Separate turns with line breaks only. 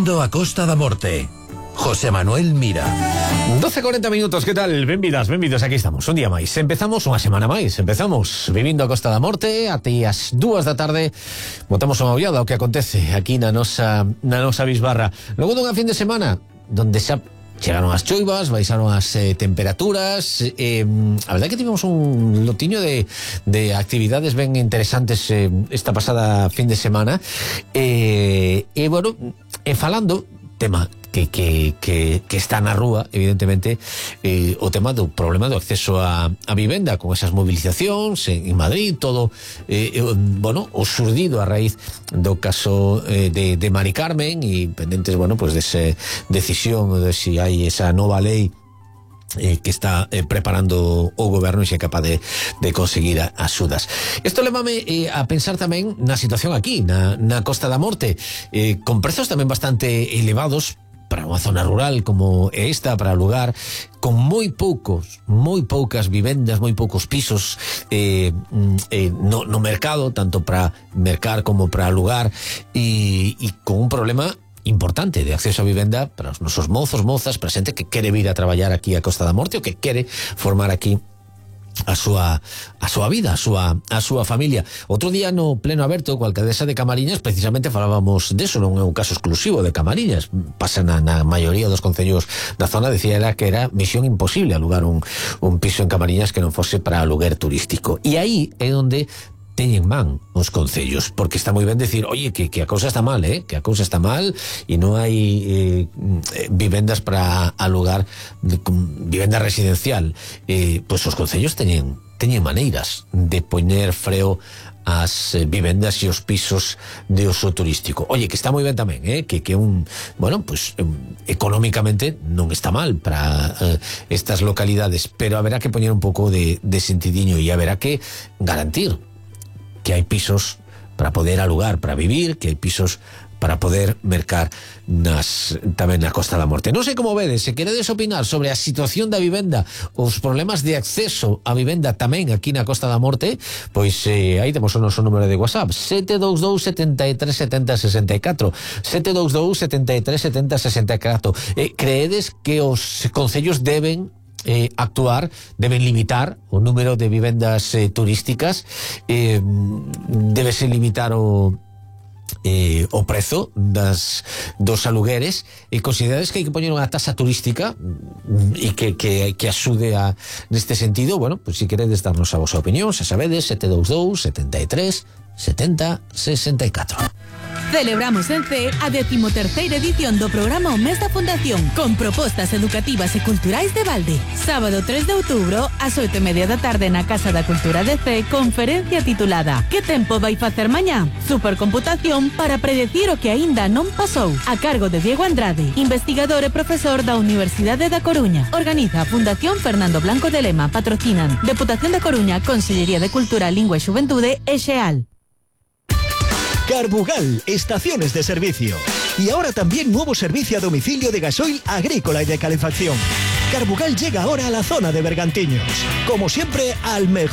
Vivindo a Costa da Morte. José Manuel Mira.
12:40 minutos, que tal? Benvidas, benvidos, aquí estamos, un día máis. Empezamos unha semana máis, empezamos Vivindo a Costa da Morte, até as 2 da tarde botamos unha ollada ao que acontece aquí na nosa bisbarra. Logo dunha fin de semana donde xa chegaron as choivas, baixaron as temperaturas, a verdade que tivemos un lotiño de actividades ben interesantes esta pasada fin de semana, bueno, falando tema que está na rúa, evidentemente, o tema do problema do acceso a vivenda, con esas movilizacións en Madrid, todo, bueno, o surdido a raíz do caso de Mari Carmen, e pendentes, bueno, pues desa decisión de si hai esa nova lei que está preparando o goberno e se é capaz de conseguir axudas. Isto levame a pensar tamén na situación aquí, na Costa da Morte, con prezos tamén bastante elevados para unha zona rural como esta, para alugar, con moi poucas vivendas, moi poucos pisos no mercado, tanto para mercar como para alugar, e con un problema importante de acceso a vivenda para os nosos mozos, mozas, para xente que quere vir a traballar aquí a Costa da Morte ou que quere formar aquí a súa vida, a súa familia. Outro día no pleno aberto coa alcaldesa de Camariñas precisamente falábamos deso, non é un caso exclusivo de Camariñas, pasa na maioría dos concellos da zona. Decía ela que era misión imposible alugar un piso en Camariñas que non fose para aluguer turístico, e aí é onde teñen man os concellos, porque está moi ben decir, oye, que a cousa está mal, que a cousa está mal e non hai vivendas para alugar, vivenda residencial, pois os concellos teñen maneiras de poñer freo as vivendas e os pisos de uso turístico. Oye, que está moi ben tamén, que bueno, pues económicamente non está mal para estas localidades, pero haberá que poñer un pouco de sentidiño e haberá que garantir que hai pisos para poder alugar, para vivir, que hai pisos para poder mercar tamén na Costa da Morte. Non sei como vedes, se queredes opinar sobre a situación da vivenda, os problemas de acceso a vivenda tamén aquí na Costa da Morte, pois aí temos o noso número de WhatsApp, 722 73 70 64, 722 73 70 64. Creedes que os concellos deben actuar, deben limitar o número de vivendas turísticas, debese limitar o prezo dos alugueres, e considerades que hai que poñer unha tasa turística e que axude neste sentido? Bueno, pues si queredes darnos a vosa opinión, xa sabedes, 722 73 70 64.
Celebramos en CEE a 13ª edición do programa O Mes da Fundación, con propostas educativas e culturais de balde. Sábado 3 de outubro, ás 8:30 da tarde na Casa da Cultura de CEE, conferencia titulada Que tempo vai facer mañá? Supercomputación para predecir o que aínda non pasou, a cargo de Diego Andrade, investigador e profesor da Universidade da Coruña. Organiza a Fundación Fernando Blanco de Lema, patrocinan Deputación da Coruña, Consellería de Cultura, Lingua e Xuventude e XEAL.
Carbugal, estaciones de servicio. Y ahora también nuevo servicio a domicilio de gasoil agrícola y de calefacción. Carbugal llega ahora a la zona de Bergantiños. Como siempre, al mejor